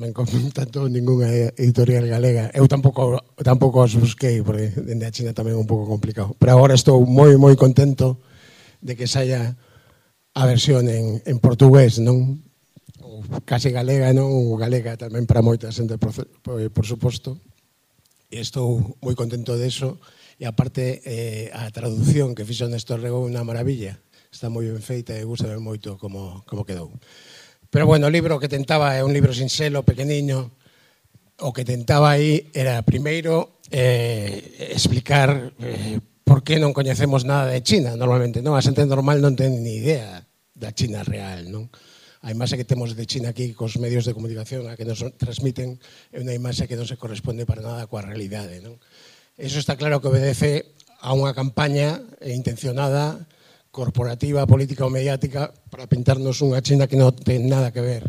Non tanto ningunha editorial galega. Eu tampouco os busquei, porque dende a China tamén é un pouco complicado. Pero agora estou moi contento de que saia a versión en portugués, non? Ou case galega, non? Ou galega tamén para moita xente, por suposto. E estou moi contento deso. E aparte, a traducción que fixo Néstor Rego é unha maravilla. Está moi ben feita e gusta moito como quedou. Pero, bueno, o libro que tentaba é un libro sinxelo, pequeniño. O que tentaba aí era, primeiro, explicar por que non coñecemos nada de China, normalmente, non? A xente normal non ten ni idea da China real, non? A imaxe que temos de China aquí cos medios de comunicación a que nos transmiten é unha imaxe que non se corresponde para nada coa realidade, non? Eso está claro que obedece a unha campaña intencionada, corporativa, política ou mediática para pintarnos unha China que non ten nada que ver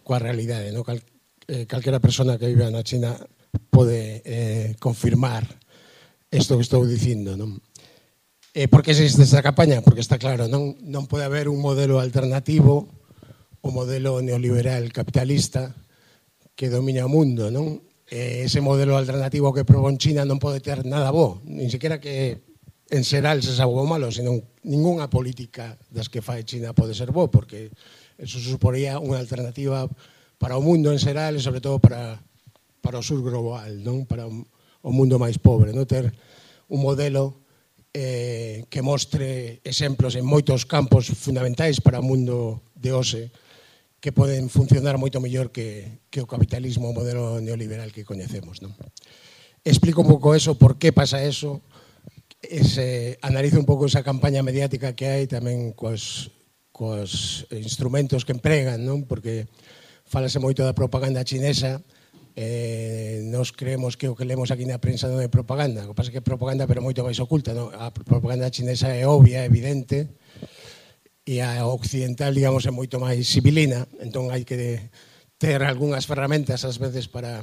coa realidade, non? Calquera persona que viva na China pode confirmar isto que estou dicindo, non? Por que existe esta campaña? Porque está claro, non pode haber un modelo alternativo, o modelo neoliberal capitalista que domina o mundo, non? Ese modelo alternativo que propón China non pode ter nada bo, nin sequera que en xeral se sabe bo malo, senón ningunha política das que fai China pode ser bo, porque eso suporía unha alternativa para o mundo en xeral e sobre todo para o sur global, non? Para o mundo máis pobre, non? Ter un modelo que mostre exemplos en moitos campos fundamentais para o mundo de hoxe que poden funcionar moito mellor que o capitalismo, o modelo neoliberal que coñecemos, non? Explico un pouco eso, por que pasa eso, analizo un pouco esa campaña mediática que hai tamén cos instrumentos que empregan, non? Porque falase moito da propaganda chinesa, nos creemos que o que lemos aquí na prensa non é propaganda, o que pasa é que é propaganda pero moito máis oculta, non? A propaganda chinesa é obvia, é evidente, e a occidental, digamos, é moito máis sibilina, entón hai que ter algunhas ferramentas ás veces para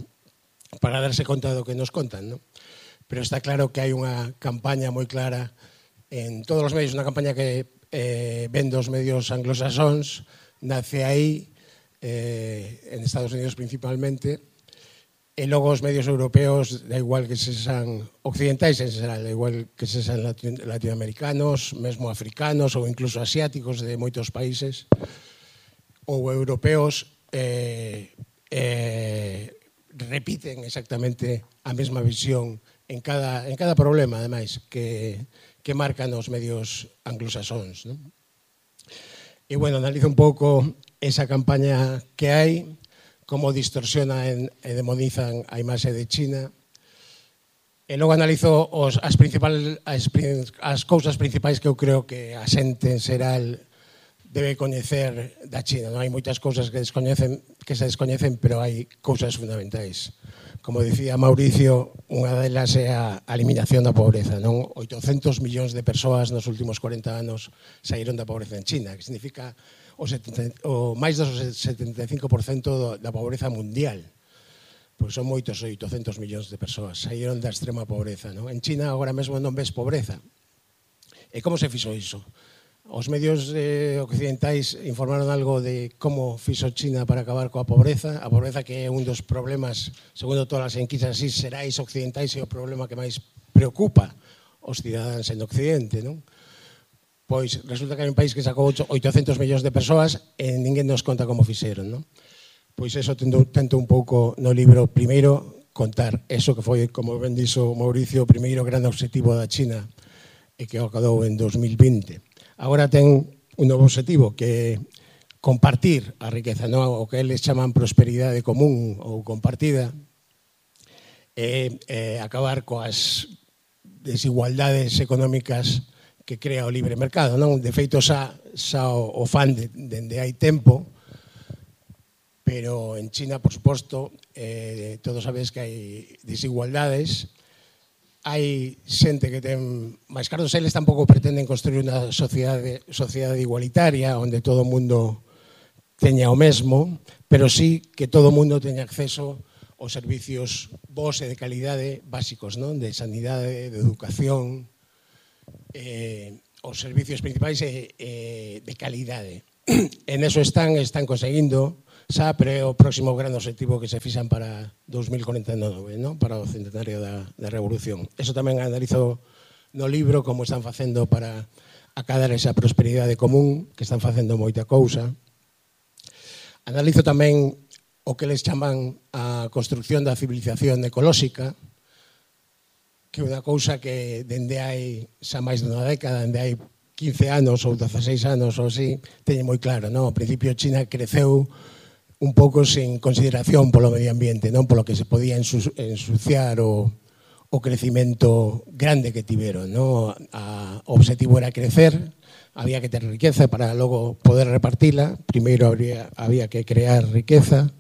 darse conta do que nos contan, non? Pero está claro que hai unha campaña moi clara en todos os medios, unha campaña que ven dos medios anglosaxóns, nace aí, en Estados Unidos principalmente, e logo os medios europeos, da igual que sexan occidentais en xeral, da igual que sexan latinoamericanos, mesmo africanos ou incluso asiáticos de moitos países, ou europeos, repiten exactamente a mesma visión en cada problema, ademais, que marcan os medios anglosaxóns, non? E, bueno, analizo un pouco esa campaña que hai, como distorsiona e demonizan a imaxe de China, e logo analizo as cousas principais que eu creo que a xente en xeral debe coñecer da China. Non hai moitas cousas que se descoñecen, pero hai cousas fundamentais. Como dicía Mauricio, unha delas é a eliminación da pobreza, non? 800 millóns de persoas nos últimos 40 anos saíron da pobreza en China, que significa o máis do 75% da pobreza mundial. Porque son moitos 800 millóns de persoas, saíron da extrema pobreza, non? En China agora mesmo non ves pobreza. E como se fixo iso? Os medios occidentais informaron algo de como fixo China para acabar coa pobreza, a pobreza que é un dos problemas, segundo todas as enquisas xerais occidentais, é o problema que máis preocupa os cidadáns en Occidente, non? Pois resulta que hai un país que sacou 800 millóns de persoas e ninguén nos conta como fixeron, non? Pois eso tento un pouco no libro, primeiro, contar eso que foi, como ben dixo Mauricio, o primeiro gran obxectivo da China e que acabou en 2020. Agora ten un novo obxectivo, que é compartir a riqueza, non? O que eles chaman prosperidade común ou compartida, e acabar coas desigualdades económicas que crea o libre mercado, non? De feito, xa o fan dende hai tempo, pero en China, por suposto, todos sabedes que hai desigualdades. Hai xente que ten máis cartos, eles tampouco pretenden construir unha sociedade igualitaria onde todo o mundo teña o mesmo, pero sí que todo o mundo teña acceso aos servicios bons e de calidade básicos, non? De sanidade, de educación, os servicios principais de calidade. En eso están conseguindo, xa, pero é o próximo gran objetivo que se fixan para 2049, non? Para o centenario da Revolución. Eso tamén analizo no libro como están facendo para acadar esa prosperidade común, que están facendo moita cousa. Analizo tamén o que les chaman a construcción da civilización ecolóxica, que é unha cousa que dende hai xa máis dunha década, dende hai 15 anos ou 16 anos ou así, teñe moi claro, non? Ao principio China creceu un pouco sen consideración polo medio ambiente, non? Polo que se podía ensuciar o crecimento grande que tiveron, non? O objetivo era crecer, había que ter riqueza para logo poder repartila, primeiro había que crear riqueza,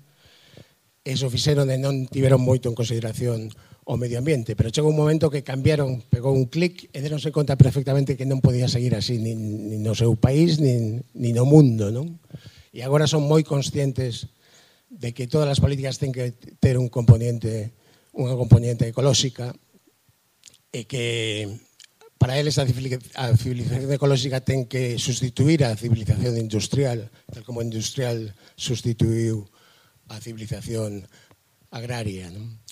eso fixeron e non tiveron moito en consideración o medio ambiente, pero chegou un momento que cambiaron, pegou un clic e deronse conta perfectamente que non podía seguir así nin no seu país, nin no mundo, non? E agora son moi conscientes de que todas as políticas ten que ter unha componente ecolóxica e que para eles a civilización ecolóxica ten que sustituir a civilización industrial, tal como a industrial sustituiu a civilización agraria, non?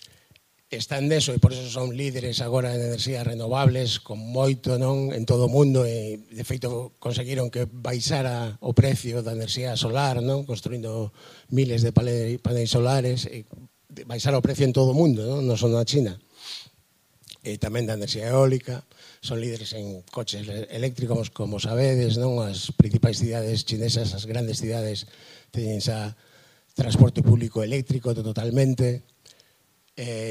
Están neso e por eso son líderes agora en enerxías renovables con moito, non, en todo o mundo e de feito conseguiron que baixara o precio da enerxía solar, non, construindo miles de paneis solares e baixara o precio en todo o mundo, non só na China. E tamén da enerxía eólica, son líderes en coches eléctricos, como sabedes, non, as principais cidades chinesas, as grandes cidades teñen xa transporte público eléctrico totalmente.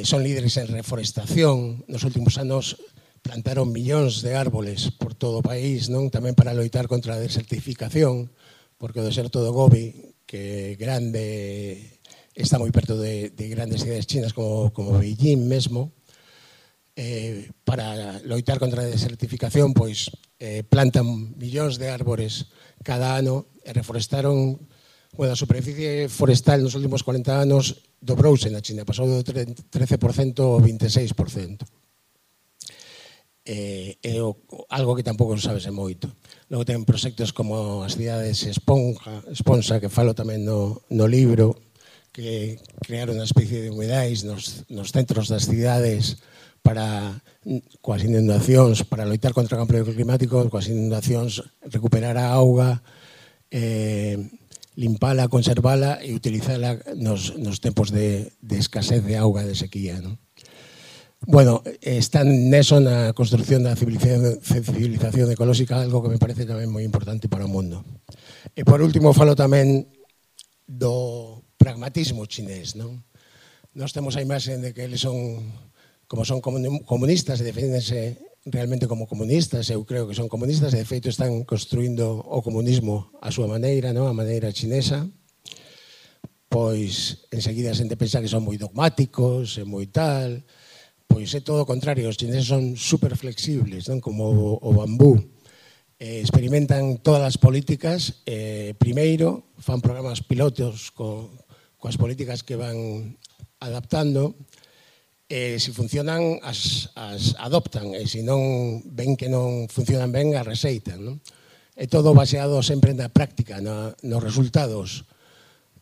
Son líderes en reforestación. Nos últimos anos plantaron millóns de árboles por todo o país, non? Tamén para loitar contra a desertificación, porque o deserto do Gobi, que grande, está moi perto de grandes cidades chinas como Beijing mesmo. Para loitar contra a desertificación, pois plantan millóns de árbores cada ano e reforestaron. Bueno, a superficie forestal nos últimos 40 anos dobrouse na China, pasou do 13% ao 26%. É algo que tampouco sabese moito. Logo ten proxectos como as cidades esponja, que falo tamén no libro, que crearon unha especie de humedais nos centros das cidades para, coas inundacións, para loitar contra o cambio climático, coas inundacións, recuperar a auga, limpala, conservala e utilizala nos tempos de escasez de auga, de sequía, non? Bueno, están neso na construcción da civilización ecolóxica, algo que me parece tamén moi importante para o mundo. E por último, falo tamén do pragmatismo chinés, non? Nós temos a imaxe de que eles son comunistas e defendense realmente como comunistas, eu creo que son comunistas e de feito están construindo o comunismo a súa maneira, non? A maneira chinesa. Pois enseguida a xente pensa que son moi dogmáticos e moi tal, pois é todo o contrario, os chineses son super flexibles, non? Como o bambú. Experimentan todas as políticas, primeiro fan programas pilotos coas políticas que van adaptando. Se funcionan, as adoptan, e se non ven que non funcionan ben, as reseitan, non? É todo baseado sempre na práctica, nos resultados,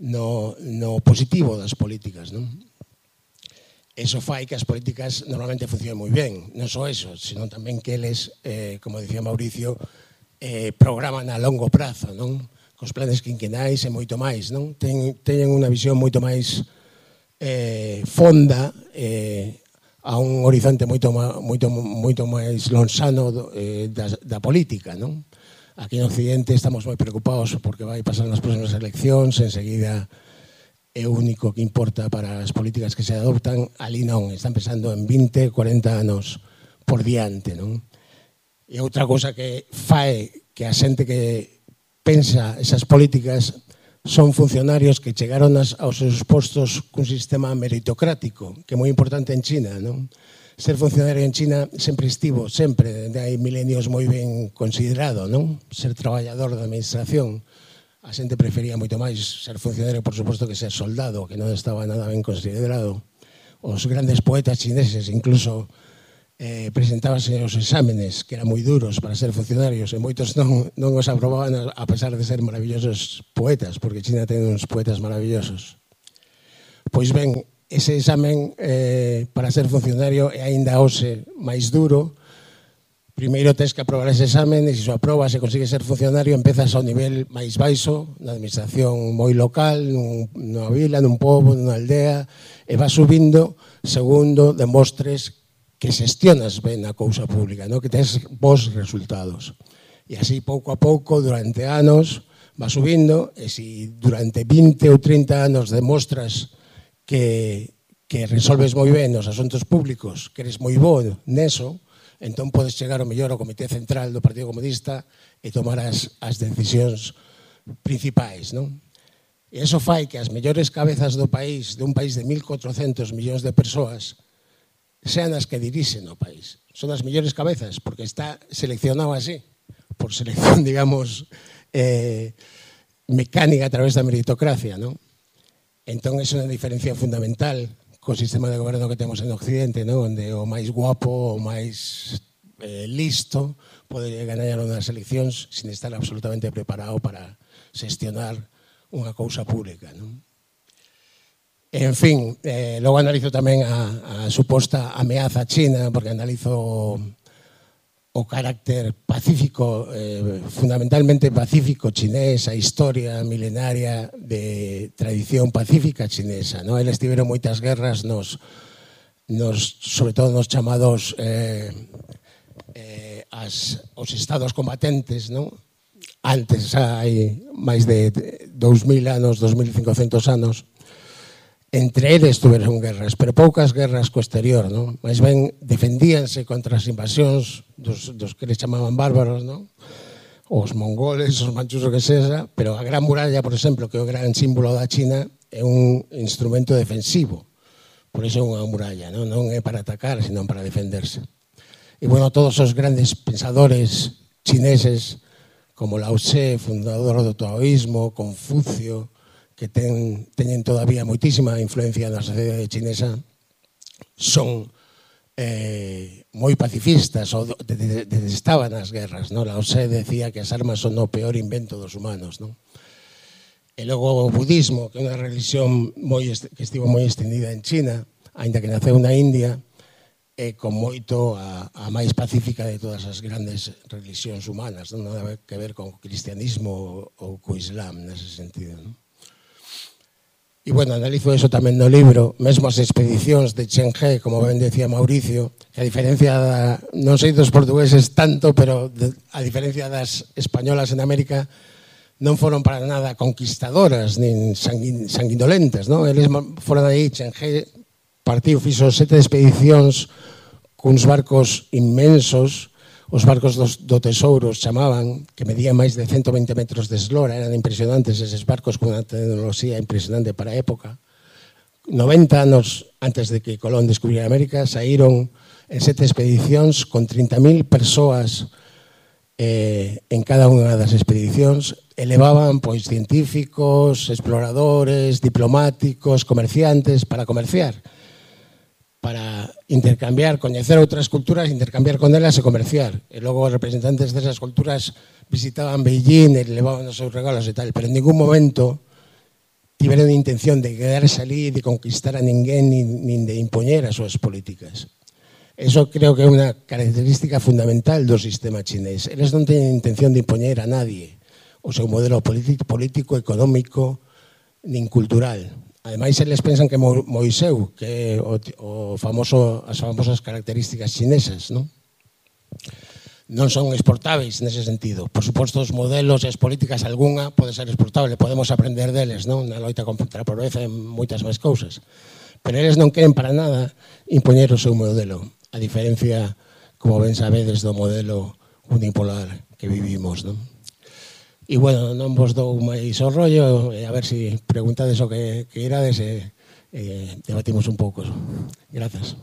no positivo das políticas, non? Eso fai que as políticas normalmente funcionen moi ben, non só eso, senón tamén que eles, como dicía Mauricio, programan a longo prazo, non? Cos planes quinquenais e moito máis, non? Teñen unha visión moito máis fonda, a un horizonte moito máis lonxano da política, non? Aquí no Occidente estamos moi preocupados porque vai pasar nas próximas eleccións, enseguida é o único que importa para as políticas que se adoptan. Ali non, están pensando en 20, 40 anos por diante, non? E outra cousa que fai que a xente que pensa esas políticas son funcionarios que chegaron aos seus postos cun sistema meritocrático, que é moi importante en China, non? Ser funcionario en China sempre estivo, sempre, hai milenios moi ben considerado, non? Ser traballador da administración. A xente prefería moito máis ser funcionario, por suposto, que ser soldado, que non estaba nada ben considerado. Os grandes poetas chineses incluso presentábase os exámenes, que eran moi duros para ser funcionarios, e moitos non os aprobaban a pesar de ser maravillosos poetas, porque China ten uns poetas maravillosos. Pois ben, ese examen para ser funcionario é aínda hoxe máis duro. Primeiro tens que aprobar ese examen e se o aprobas e consigues ser funcionario empezas ao nivel máis baixo, na administración moi local, nunha vila, nun pobo, nunha aldea, e vas subindo segundo demostres que xestionas ben a cousa pública, no? Que tens bons resultados. E así, pouco a pouco, durante anos, vas subindo, e se durante 20 ou 30 anos demostras que resolves moi ben os asuntos públicos, que eres moi bo neso, entón podes chegar ao mellor ao Comité Central do Partido Comunista e tomar as decisións principais, non? E iso fai que as mellores cabezas do país, de un país de 1.400 millóns de persoas, sean as que dirixen o país. Son as mellores cabezas, porque está seleccionado así, por selección, digamos, mecánica a través da meritocracia, non? Entón, é unha diferencia fundamental co sistema de goberno que temos en Occidente, non? Onde o máis guapo, o máis listo, pode ganar unhas eleccións sin estar absolutamente preparado para xestionar unha cousa pública, non? En fin, logo analizo tamén a suposta ameaza china, porque analizo o carácter pacífico, fundamentalmente pacífico chinés, a historia milenaria de tradición pacífica chinesa, non? Eles tiveron moitas guerras sobre todo nos chamados os estados combatentes, non? Antes, hai máis de 2.000 anos, 2.500 anos, entre eles tuveron guerras, pero poucas guerras co exterior, non? Mais ben defendíanse contra as invasións dos que les chamaban bárbaros, non? Os mongoles, os manchus, o que sexa, pero a Gran Muralla, por exemplo, que é o gran símbolo da China, é un instrumento defensivo. Por iso é unha muralla, non? Non é para atacar, senón para defenderse. E, bueno, todos os grandes pensadores chineses, como Lao Tse, fundador do taoísmo, Confucio, que teñen todavía moitísima influencia na sociedade chinesa, son moi pacifistas, ou detestaban as guerras, non? Lao Tse decía que as armas son o peor invento dos humanos, non? E logo o budismo, que é unha religión que estivo moi extendida en China, aínda que naceu na India, é con moito a máis pacífica de todas as grandes religións humanas, non? Nada que ver con o cristianismo ou co islam, nese sentido, non? E, bueno, analizo eso tamén no libro, mesmo as expedicións de Chen He, como ben decía Mauricio, que a diferencia non sei dos portugueses tanto, pero a diferencia das españolas en América, non foron para nada conquistadoras, nin sanguinolentas, non? Eles foron aí, Chen He partiu, fixo 7 expedicións cuns barcos inmensos, os barcos do tesouro chamaban, que medían máis de 120 metros de eslora, eran impresionantes eses barcos con unha tecnoloxía impresionante para a época. 90 anos antes de que Colón descubriera América, saíron en 7 expedicións con 30.000 persoas en cada unha das expedicións, elevaban pois científicos, exploradores, diplomáticos, comerciantes, para comerciar, para intercambiar, coñecer outras culturas, intercambiar con elas e comerciar. E logo os representantes desas culturas visitaban Beijing e levaban os seus regalos e tal, pero en ningún momento tiveron intención de quedarse ali, de conquistar a ninguén, nin de impoñer as súas políticas. Eso creo que é unha característica fundamental do sistema chinés. Eles non teñen intención de impoñer a nadie o seu modelo político, económico, nin cultural. Ademais, eles pensan que Moiseu, que é as famosas características chinesas, non son exportáveis nese sentido. Por suposto, os modelos e as políticas, algunha pode ser exportable, podemos aprender deles, non? Na loita contra a pobreza e moitas máis cousas. Pero eles non queren para nada impoñer o seu modelo, a diferencia, como ben sabedes, do modelo unipolar que vivimos, non? E, bueno, non vos dou máis o rollo, a ver se preguntades o que irades e debatimos un pouco. Grazas.